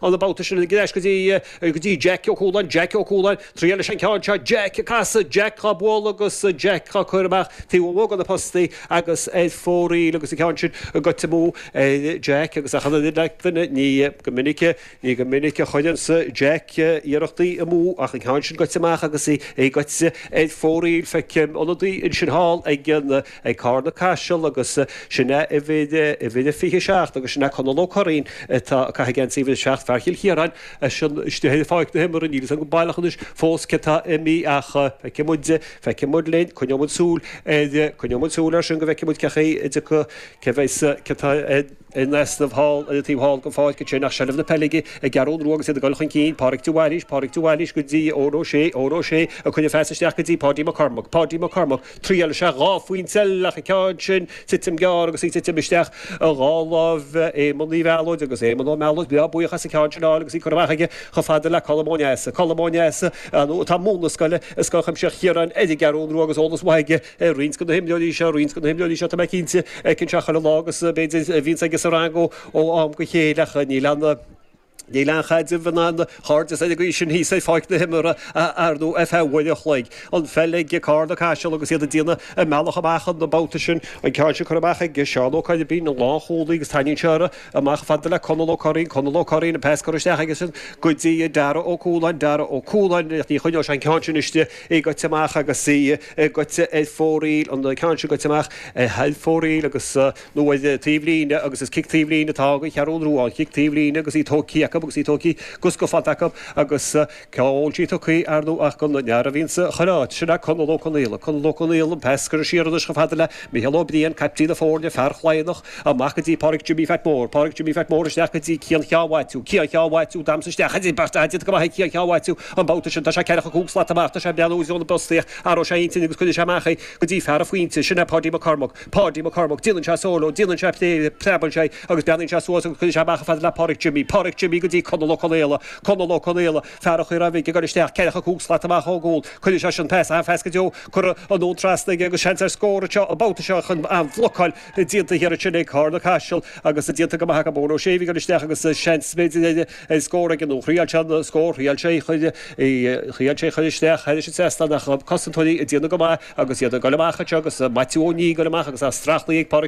An babhta sin ar ais go dtí go dtí Jack Ó Cualáin, Jack Ó Cualáin, triail leis an ceann seo, Jack ag casadh, Jack á bualadh agus Jack á cur amach taobh amuigh de na postaí agus ar fóraoil agus an ceann sin goite amú ar Jack agus achan duine ní go minic ní go minic a chuireanns Jack iarrachtaí amú ach an ceann sin goite amach agus í goite ar fóraoil. Feicim ionadaí ansin thall ag an ag Carna Caiseal agus sin é uimhir, uimhir a 27 agus sin é Conall Ó Curraoin atá ag caitheamh geansaí uimhir 7, fear Chill Chiaráin, eisean istigh ar pháirc na himeartha, níl fhios agam go baileach anois fós cé atá imithe ach feicfidh muid, feicfidh muid linn, coinneoidh muid súil ar, coinneoidh muid súil air sin go bhfeicfidh muid cé chaoi a dtiocfaidh, cé bheas, cé atá in easnamh thall ar an taobh thall den pháirc ansin ach seilbh na peile ag an gCeathrú Rua agus iad ag dul chun cinn, Pádraic de Bhailís, Pádraic de Bhailís go dtí Eoin Ó Sé, Eoin Ó Sé ag cur an phas isteach go dtí Páidí Mac Cormaic, Páidí Mac Cormaic. Triail sé 2 phointe eile ach an ceann sin titim gearr agus í titim isteach i dhá láimh Éamonn Uí Mhealóid agus Éamonn Ó Mealóid breá buíoch as an ceann sin a fháil agus í curtha amach aige chomh fada le Colm Ó Neasa. Colm Ó Neasa atá ag múineadh na scoile i Scoil Chuimsitheach Chiaráin ar an gCeathrú Rua agus eolas maith aige ar roinnt de na himreoirí seo, roinnt de na himreoirí seo tá mé cinnte a fheiceann sé chuile lá agus b'fhéidir a bhíonns aige sa rang ó am go chéile ach níl aon Níl aon chaidreamh in ann cairdeas ar an gcaoi sin thíos ar pháirc na himeartha a athrú ar feadh uair an chloig. An pheil ag Carna Caiseal agus iad ag déanamh a mbealach amach an babhta sin. An ceann sin curtha amach ag Seán Ó Coirbín, an lánchúlaí, agus tarraingíonn sé orthu amach fada le Conall Ó Curraoin. Conall Ó Curraoin, an pas curtha isteach aige sin go dtí Dara Ó Cualáin. Dara Ó Cualáin, ach ní choinneoidh sé an ceann sin istigh. Í goite amach agus í goite ar fóraoil. An ceann sin goite amach ar fóraoil agus. nó ar taobh líne agus is cic taobh líne atá ag an Cheathrú Rua, an chic taobh líne agus í tógtha acu agus í tógtha go scafánta acu agus cá bhfuil sí tugtha ar ndóigh ach don fhear a bhíonn sa chuile áit, sin é Conall Ó Conaola. Conall Ó Conaola, an pas curtha siar anois chomh fada le Micheál Ó Briain, caiptín na foirne, fear Chladhnach, amach go dtí Pádraic Jimmy Phat Mór, Pádraic Jimmy Phat Mór isteach go dtí Cian Sheáin Mhaitiú, Cian Sheáin Mhaitiú, damhsa isteach idir beirt, déanta go maith ag Cian Sheáin Mhaitiú an babhta sin, tá sé ceathracha cúig slat amach, tá sé ag breathnú i dtreo na bpostaí ach athróidh sé a intinn agus cuirfidh sé amach é go dtí fear an phointe, sin é Páidí Mac Cormaic. Páidí Mac Cormaic, Déanann sé solo, déanann sé plé, preabann sé agus breathnaíonn sé suas agus cuireann sé amach chomh fada le Pádraic Jimmy, Pádraic Jimmy go dtí Conall Ó Conaola, Conall Ó Conaola, fear an Chaoráin Bhig ag dul isteach, ceathracha cúig slat amach ón gcúl, cuireann sé sin pas, an-phas go deo, curtha anonn trasna aige agus seans ar scór anseo an babhta seo ach an bhlocáil déanta thiar ansin ag Carna Caiseal agus déanta go maith acu Eoin Ó Sé a bhí ag dul isteach agus seans b'fhéidir ar scór aige nó thriail sé an scór, thriail sé thriail sé chur isteach thairis an trasnán ach cosantóirí ag déanamh go maith. Agus iad ag dul amach anseo agus Maitiú Ó Nia ag dul amach agus á streachlaí ag Pádraic.